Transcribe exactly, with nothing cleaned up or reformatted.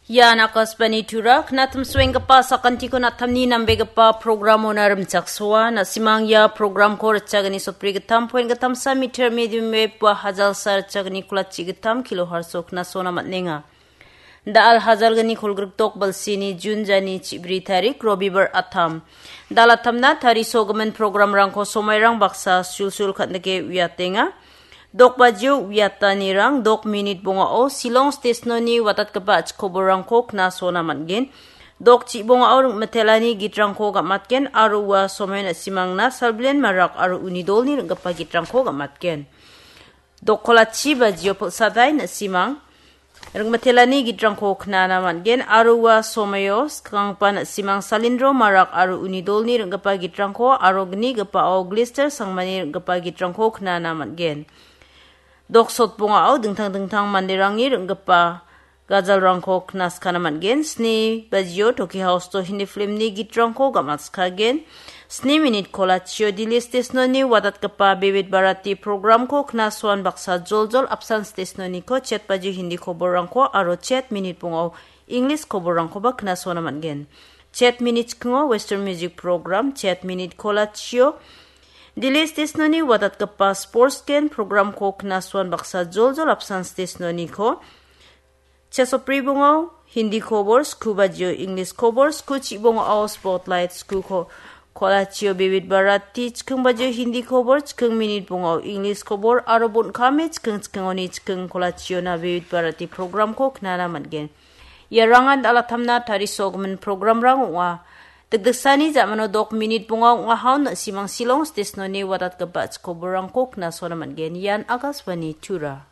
Ian Akashvani Tura, knatimsuenggipa sakantiko natamni nambegipa programona rimchaksoa. Na·simang ia programko ritchagni sotbri gittam point gittamsa meter medium wave ua hajalsa ritchagni kolachi gittam kilohertz-o knasona man·enga. Da·al hajalgni kolgrikdok balsini Jun jani chibri tarik Robibar atam. Da·al atamna tarisogimin programrangko somairang baksa sulsul kan·dike uiatenga. Dok bajio uiatanirang dok minit bongao Shillong stesnoni watatgipa achikoborangko knasona man·gen. Dok chibongao ring·mitelani gitrangko gam·atgen aro ua somaio na·simangna Salbilen Marak aro uni dolni ring·gipa gitrangko gam·atgen. Dok kolachi bajio pil·sadai na·simang ring·mitelani gitrangko knana man·gen aro ua somaio skanggipa na·simang Salindro Marak aro uni dolni ring·gipa gitrangko aro gnigipao Glister Sangmani ring·gipa gitrangko knana man·gen. Dok sotbongao dingtang dingtang manderangni ring·gipa gajalrangko knaskana man·gen. Sni bajio Toki House-o Hindi filmni gitrangko gam·atskagen. Sni minit kolachio Delhi stesnoni watatgipa Vividh Bharati programko knasoan baksa joljol apsan stesnoniko chet bajio Hindi koborrangko aro chet minit bongao English koborrangkoba knasona man·gen. Chet minit chikingo Western Music Program, chet minit kolachio Delhi stesnoni watatgipa Sports Gen programko knasoan baksa joljol apsan stesnoniko Chesopri bongao Hindi kobor, sku bajio English kobor, sku chibongao Spotlight, sku ko-, kolachio Vividh Bharati, chiking bajio Hindi kobor, chiking minit bongao English kobor, aro bon kame chiking chikingoni chiking kolachiona Vividh Bharati programko knana man·gen. Iarangan da·al atamna tarisogimin programrang ong·a. Dikdiksani ja·mano dok minit bongao ong·a haun na·simang Shillong stesnoni watatgipa chikoborrangko knasona man·gen. Ian Akashvani Tura.